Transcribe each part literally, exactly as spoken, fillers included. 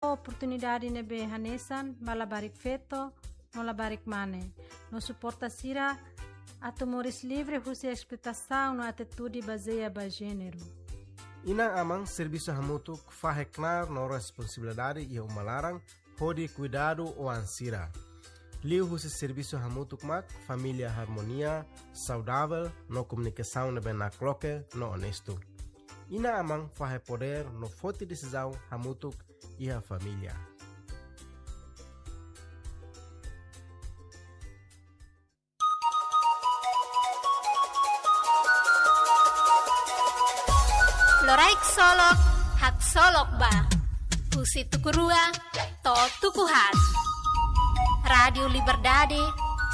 oportunidade ne'ebé hanesan ba labarik feto no labarik mane, no suporta sira atu moris livre husi esploitasaun no atitude bazeia ba jéneru. Inan-aman servisu hamutuk fahe knaar no responsabilidade iha uma laran hodi kuidadu oan sira. Liuhusi servisu hamutuk mak família harmonia, saudavel no komunikasaun ne'ebé nakloke no onestu. Inan-aman fahe podér no foti desizaun hamutuk iha família. Loraik Solok, haksolok ba. Husi tuku rua to'o tuku haat. Rádio Liberdade,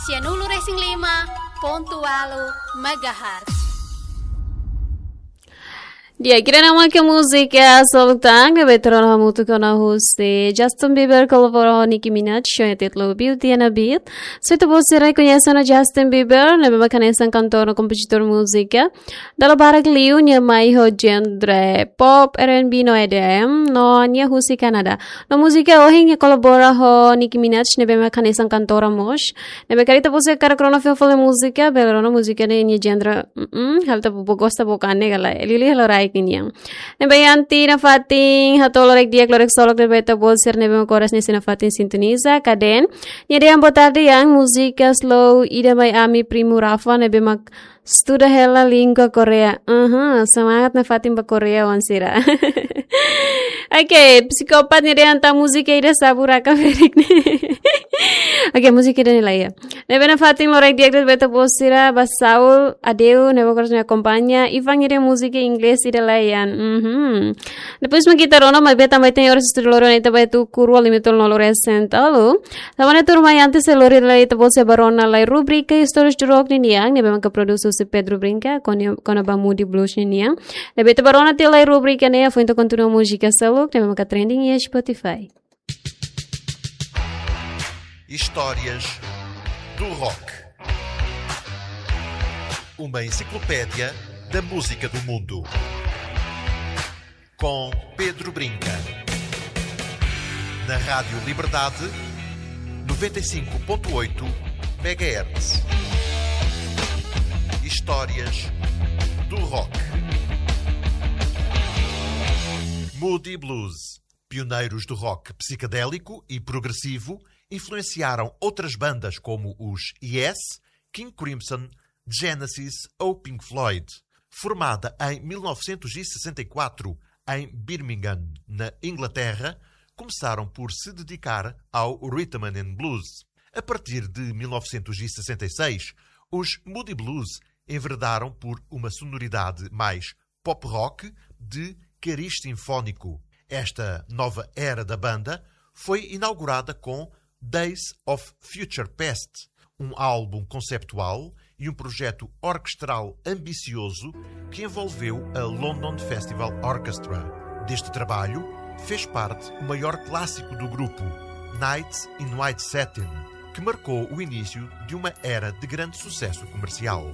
sianulu resin lima pontu ualu megahertz. Di'ak, ida-ne'e mak múzika Solok Tan, ne'ebé tuur ona hamutuk ona husi Justin Bieber kolabora ho Nicki Minaj, ho nia títulu Beauty and a Beat. Se ita-boot sira rekoñese ona Justin Bieber, ne'ebé mak hanesan kantór no kompozitór múzika. Dala barak liu nia mai ho jéneru pop, R and B no E D M, no nia husi Kanadá. No múzika ohin nia kolabora ho Nicki Minaj, ne'ebé mak hanesan kantora mós. Ne'ebé karik ita-boot sira hakarak rona fila fali múzika, bele rona múzika ne'e nia jéneru, mm, halo ita-boot gosta buat ne'e ka lae. Liuliu halo raik nian. Ne'ebé antes nafatin hato'o loraik di'ak, loraik Solok ne'ebé ita-boot sira ne'ebé mak oras ne'e sei nafatin sintoniza, karik nia dehan boa tarde, yang múzika slow ida mai ami primu Rafa ne'ebé mak estuda hela língua Korea. Aha, semangat nafatin ba Korea oan sira. Oke, psikopat nia dehan tan múzika ida sabu raka ferik ne'e. Oke, múzika ida-ne'e laiha. Ne'ebé nafatin loraik di'ak ba ita-boot sira, ba Saul Adeu, ne'ebé oras ne'e akompaña, Ivan nia dehan múzika inglés ida laiha. Mhm. Depois mak ita rona, maibé tanba ita-nia oras estúdiu loro ne'e ita ba tuku rua lima tolu nol resin tolu. Tanba ne'e tuirmai antes de lori lai ita-boot sira ba rona lai rubrika Istórias do Rock ninian, ne'ebé maka produs husi Pedro Brinca, kona, kona-ba Moody Blues ninian. Ne'ebé ita ba rona tiha lai rubrika ne'e, foin ita kontinua múzika seluk, ne'ebé maka trending iha Spotify. Histórias do Rock. Uma enciclopédia da música do mundo. Com Pedro Brinca. Na Rádio Liberdade, noventa e cinco ponto oito megahertz. Histórias do Rock. Moody Blues. Pioneiros do rock psicadélico e progressivo, influenciaram outras bandas como os Yes, King Crimson, Genesis ou Pink Floyd. Formada em mil novecentos e sessenta e quatro em Birmingham, na Inglaterra, começaram por se dedicar ao rhythm and blues. A partir de mil novecentos e sessenta e seis, os Moody Blues enverdaram por uma sonoridade mais pop rock de cariz sinfónico. Esta nova era da banda foi inaugurada com Days of Future Past, um álbum conceptual e um projeto orquestral ambicioso que envolveu a London Festival Orchestra. Deste trabalho, fez parte o maior clássico do grupo, Nights in White Satin, que marcou o início de uma era de grande sucesso comercial.